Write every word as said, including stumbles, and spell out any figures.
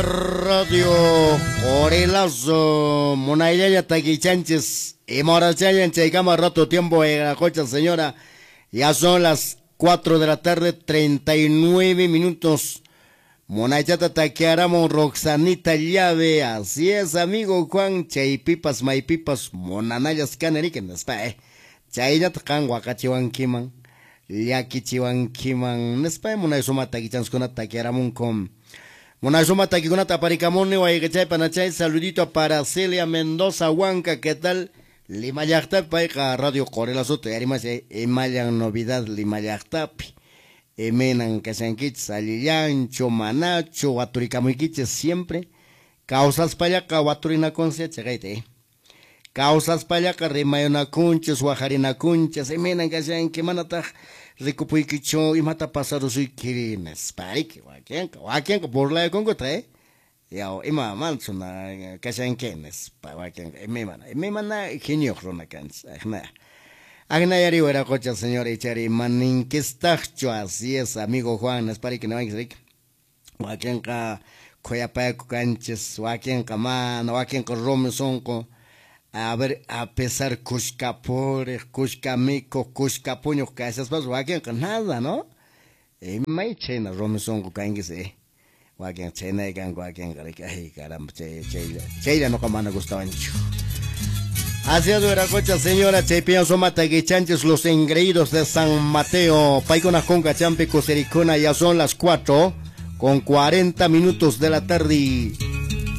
Radio Corelazo, Munayllaya Taquichanches, y Morachayan, Chaykama, rato tiempo, cocha señora, ya son las cuatro de la tarde, treinta y nueve minutos. Munaychata taquearamos Roxanita Llave, así es, amigo Juan, chaypipas, maypipas, monanayas canariquen, nespa, eh. Chaynata kan wakachiwankiman, llakichiwankiman, nespa, munay suma taquichanskuna taquearamunkum. Munay suma taquikunata aparikamuni, wayqichay panachay, saludito para Celia Mendoza Huanca, ¿qué tal? Lima llaqtapi, payqa Radio Corelazote, arimas, imallan novedad Lima llaqtapi. Emenan kashankichis, allillancho, manacho, waturikamuykichis siempre. Kawsaspallaqa waturinakunchis chaqayta, eh. Kawsaspallaqa rimayunakunchis, wajarinakunchis, emenan kashanki, manataq rikupuykichu, imata pasarusuykiri, nispariki, wakinqa, wakinqa burlayakunkuta, eh. Yaw, ima manchuna kashanki, nispa, wakinqa, imana, imana genioq runa kanchis, ajna. Agnayari hueracocha, señor Ichari, maninquistachcho, así es, amigo Juan, nispariki, niwanchis, wakinqa khuyapayaku kanchis, wakinqa mana, wakinqa rumi sunqu. A ver, a pesar kushka puriq, kushka mikuq, kushka puñuq kashaspas, wakinqa nada, ¿no? Imay chayna rumi sunqu kankis, eh. Wakinqa chaynay kanku, wakinqa riki, ay, caramba, chay, chaylla, chaylla noqa mana gustawanchu. Así es, Hueracocha, señora, chaypiña sumata guichanchis, los engreídos de San Mateo. Paikuna junca, champi, kusirikuna, ya son las cuatro con cuarenta minutos de la tarde.